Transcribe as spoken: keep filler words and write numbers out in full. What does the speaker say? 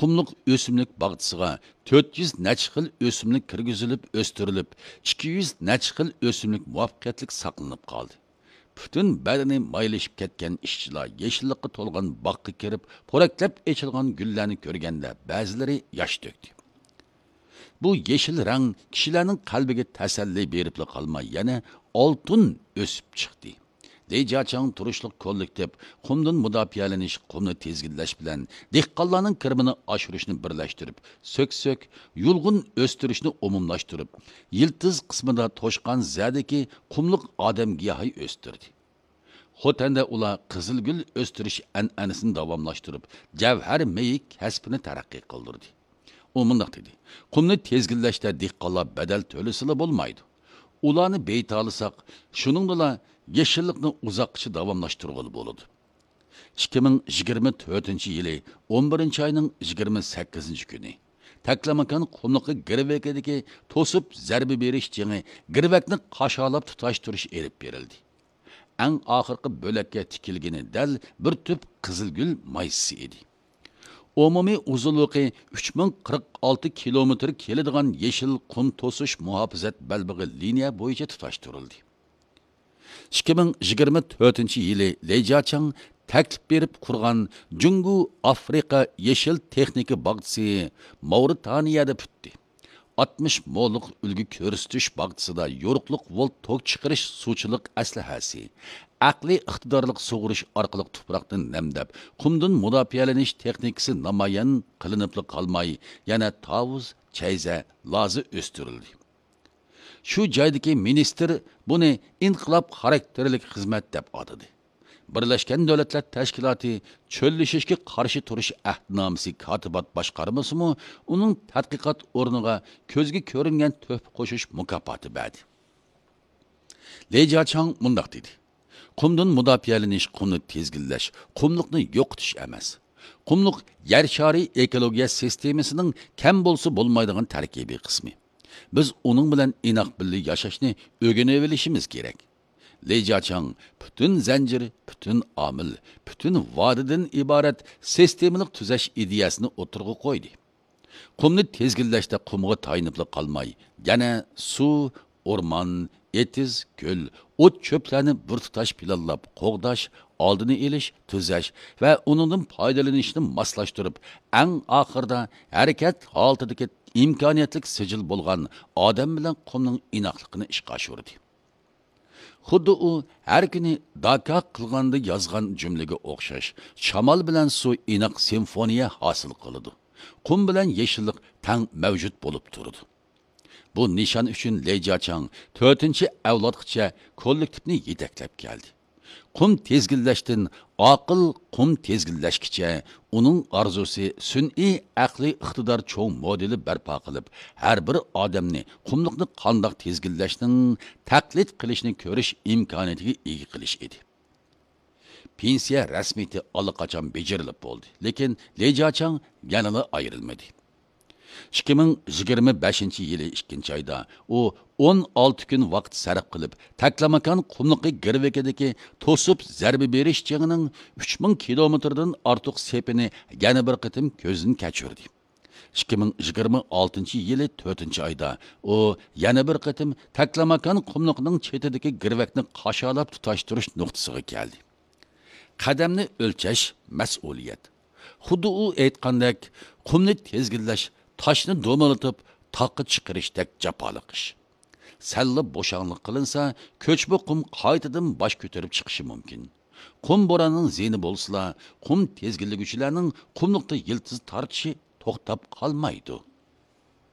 قۇملۇق ئۆسۈملۈك باغچىسىغا تۆت يۈز نەچچە خىل ئۆسۈملۈك كىرگۈزۈلۈپ ئۆستۈرۈلۈپ، ئىككى يۈز نەچچە خىل ئۆسۈملۈك مۇۋەپپەقىيەتلىك ساقلىنىپ قالدى. پۈتۈن بەدىنى مايلىشىپ كەتكەن ئىشچىلار يېشىللىققا تولغان باغقا كىرىپ، پورەكلەپ ئېچىلغان گۈللەرنى كۆرگەندە، بەزىلىرى ياش تۆكتى. بۇ يېشىل رەڭ كىشىلەرنىڭ قەلبىگە تەسەللى بېرىپلا قالماي، يەنە ئالتۇن ئۆسۈپ چىقتى. لى جياچاڭ تۇرۇشلۇق كوللېكتىپ قۇمدىن مۇداپىئەلىنىش، قۇمنى تىزگىنلەش بىلەن دېھقانلارنىڭ كىرىمىنى ئاشۇرۇشنى بىرلەشتۈرۈپ، سۆكسۆك، يۇلغۇن ئۆستۈرۈشنى ئومۇملاشتۇرۇپ، يىلتىز قىسمىدا توشقان زەدىكى قۇملۇق ئادەم گىياھى ئۆستۈردى. خوتەندە ئۇلار قىزىلگۈل ئۆستۈرۈش ئەنئەنىسىنى داۋاملاشتۇرۇپ، جەۋھەر مېيى كەسپىنى تەرەققىي قىلدۇردى. ئۇ مۇنداق دېدى: قۇمنى تىزگىنلەشتە دېھقانلار بەدەل تۆلىسىلا بولمايدۇ. ئۇلارنى بېيىتالىساق، شۇنىڭدىلا يېشىللىقنى ئۇزاققىچە داۋاملاشتۇرغىلى بولىدۇ. ئىككى مىڭ يىگىرمە تۆتىنچى يىلى ئون بىرىنچى ئاينىڭ يىگىرمە سەككىزىنچى كۈنى تەكلىماكان قۇملۇقى گىرۋىكىدىكى توسۇپ زەربە بېرىش جېڭى، گىرۋەكنى قاشالاپ تۇتاشتۇرۇش ئېلىپ بېرىلدى. ئەڭ ئاخىرقى بۆلەككە تىكىلگىنى دەل بىر تۈپ قىزىلگۈل مايسىسى ئىدى. ئومۇمىي ئۇزۇنلۇقى ئۈچ مىڭ قىرىق ئالتە كىلومېتىر كېلىدىغان يېشىل قۇم توسۇش مۇھاپىزەت بەلبېغى لىنىيە بويىچە تۇتاشتۇرۇلدى. ئىككى مىڭ يىگىرمە تۆتىنچى يىلى لى جياچاڭ تەكلىپ بېرىپ قۇرغان جۇڭگو ئافرىقا يېشىل تېخنىكا باغچىسى ماۋرىتانىيەدە پۈتتى. ئاتمىش مولۇق ئۈلگە كۆرسىتىش باغچىسىدا يورۇقلۇق ۋولت توك چىقىرىش سۇچىلىق ئەسلىھەسى، ئەقلىي ئىقتىدارلىق سۇغۇرۇش ئارقىلىق تۇپراقنى نەمدەپ، قۇمدىن مۇداپىئەلىنىش تېخنىكىسى نامايان قىلىنىپلا قالماي، يەنە تاۋۇز، چەيزە، لازا ئۆستۈرۈلدى. شۇ جايدىكى مىنىستىر بۇنى ئىنقىلاب خاراكتېرلىك خىزمەت دەپ ئاتىدى. بىرلەشكەن دۆلەتلەر تەشكىلاتى چۆللىشىشكە قارشى تۇرۇش ئەھدىنامىسى كاتىبات باشقارمىسىمۇ ئۇنىڭ تەتقىقات ئورنىغا كۆزگە كۆرۈنگەن تۆھپە قوشۇش مۇكاپاتى بەردى. لى جياچاڭ مۇنداق دېدى: قۇمدىن مۇداپىئەلىنىش، قۇمنى تىزگىنلەش، قۇملۇقنى يوقىتىش ئەمەس. قۇملۇق يەر شارى ئېكولوگىيە سىستېمىسىنىڭ كەم بولسا بولمايدىغان تەركىبىي قىسمى. بىز ئۇنىڭ بىلەن ئىناق بىللە ياشاشنى ئۆگىنىۋېلىشىمىز كېرەك. لى جياچاڭ پۈتۈن زەنجىر، پۈتۈن ئامىل، پۈتۈن ۋادىدىن ئىبارەت سىستېمىلىق تۈزەش ئىدىيەسىنى ئوتتۇرىغا قويدى. قۇمنى تىزگىنلەشتە قۇمغا تايىنىپلا قالماي، يەنە سۇ، ئورمان، ئېتىز، كۆل، ئوت-چۆپلەرنى بىر تۇتاش پىلانلاپ قوغداش، ئالدىنى ئېلىش، تۈزەش ۋە ئۇنىڭدىن پايدىلىنىشنى ماسلاشتۇرۇپ، ئەڭ ئاخىرىدا ھەرىكەت ھالىتىدىكى ئىمكانىيەتلىك سىجىل بولغان ئادەم بىلەن قۇمنىڭ ئىناقلىقىنى ئىشقا ئاشۇردى. خۇددى ئۇ ھەر كۈنى داكا قىلغاندا يازغان جۈملىگە ئوخشاش، شامال بىلەن سۇ ئىناق سىمفونىيە ھاسىل قىلىدۇ. قۇم بىلەن يېشىللىق تەڭ مەۋجۇت بولۇپ تۇرىدۇ. بۇ نىشان ئۈچۈن لى جياچاڭ تۆتىنچى ئەۋلادقىچە كوللېكتىپنى يېتەكلەپ كەلدى. قۇم تىزگىنلەشتىن ئاقىل قۇم تىزگىنلەشكىچە ئۇنىڭ ئارزۇسى سۈنئىي ئەقلىي ئىقتىدار چوڭ مودېلى بەرپا قىلىپ، ھەر بىر ئادەمنى قۇملۇقنى قانداق تىزگىنلەشنىڭ تەقلىد قىلىشنى كۆرۈش ئىمكانىيىتىگە ئىگە قىلىش ئىدى. پېنسىيە رەسمىيىتى ئاللىقاچان بېجىرىلىپ بولدى، لېكىن لى جياچاڭ يەنىلا ئايرىلمىدى. ئىككى مىڭ يىگىرمە بەشىنچى يىلى ئىككىنچى ئايدا ئۇ ئون ئالتە كۈن ۋاقىت سەرپ قىلىپ، تەكلىماكان قۇملۇقى گىرۋىكىدىكى توسۇپ زەربە بېرىش جېڭىنىڭ ئۈچ مىڭ كىلومېتىردىن ئارتۇق سېپىنى يەنە بىر قېتىم كۆزدىن كەچۈردى. ئىككى مىڭ يىگىرمە ئالتىنچى يىلى تۆتىنچى ئايدا ئۇ يەنە بىر قېتىم تەكلىماكان قۇملۇقىنىڭ چېتىدىكى گىرۋەكنى قاشالاپ تۇتاشتۇرۇش نۇقتىسىغا كەلدى. قەدەمنى ئۆلچەش مەسئۇلىيەت. خۇددى ئۇ ئېيتقاندەك، قۇمنى تىزگىنلەش تاشنى دومىلىتىپ تاغقا چىقىرىشتەك جاپالىق ئىش. سەللا بوشاڭلىق قىلىنسا، كۆچمە قۇم قايتىدىن باش كۆتۈرۈپ چىقىشى مۇمكىن. قۇم بوراننىڭ زىيىنى بولسىلا، قۇم تىزگىنلىگۈچىلەرنىڭ قۇملۇقتا يىلتىز تارتىشى توختاپ قالمايدۇ.